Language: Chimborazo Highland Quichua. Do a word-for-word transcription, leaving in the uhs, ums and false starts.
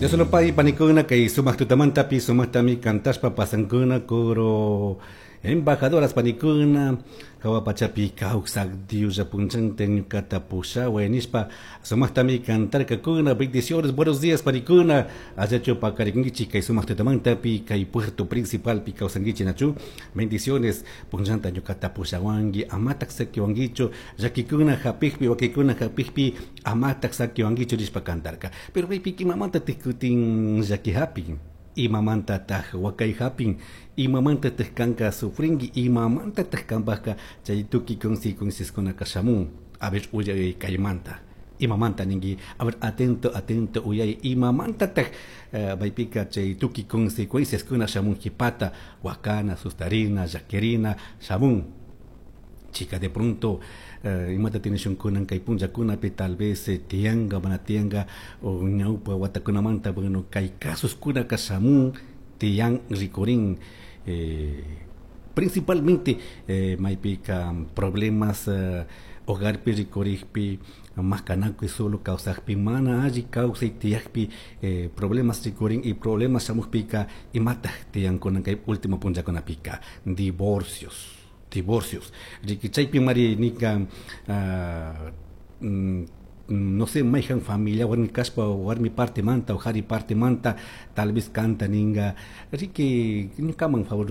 Dios panikuna kay sumaq tutamantapi sumaqtami kantashpa pasankuna coro embajadoras panikuna hawa pachapi kawsak Dios punchanta ñukata pushaway nishpa sumaqtami kantarkakuna. Bendiciones, buenos días, panikuna. Allachu paqarikunkichik kay sumaq tutamantapi kay puerto principalpi kawsankichik nachu? Bendiciones. Punchanta ñukata pushawanki, amatak sakiwankichu, llakikuna hapikpi, wakikuna hapikpi, amatak sakiwankichu nishpa kantarka. Pero maypika imamantatik kutin llaki hapin? Imamantataj wakay hapin? Imamantataj kanka sufrinki? Imamantataj kanpajka chay tukuy consecuenciaskunaka shamun? A ver, uyay kaymanta. Imamanta ninki? A ver, atento, atento, uyay. Imamantataj uh, maypika chay tukuy consecuenciaskuna shamun qhipata wakana, sustarina, llakirina shamun? Chica, de pronto uh, imata tinishunkunan kay punllakunapi tal vez eh, tiyanka, mana tiyanka o ñawpa watakunamanta. Bueno, kay casos kunaka shamun, tiyan, rikurin eh, principalmente eh, maypika problemas eh, hogarpi rikurikpi, makanakuy solo kawsakpi, mana alli kawsay tiyakpi eh, problemas rikurin. Y problemas shamukpika, imataj tiyankunan kay último punllakunapika? Divorcios, divorcios. Riki, chaypi mari nika uh, mm, no sé, mayhan familia warmi kashpa, warmi parte manta o qhari parte manta, tal vez canta ninga, riki, ñukaman favor.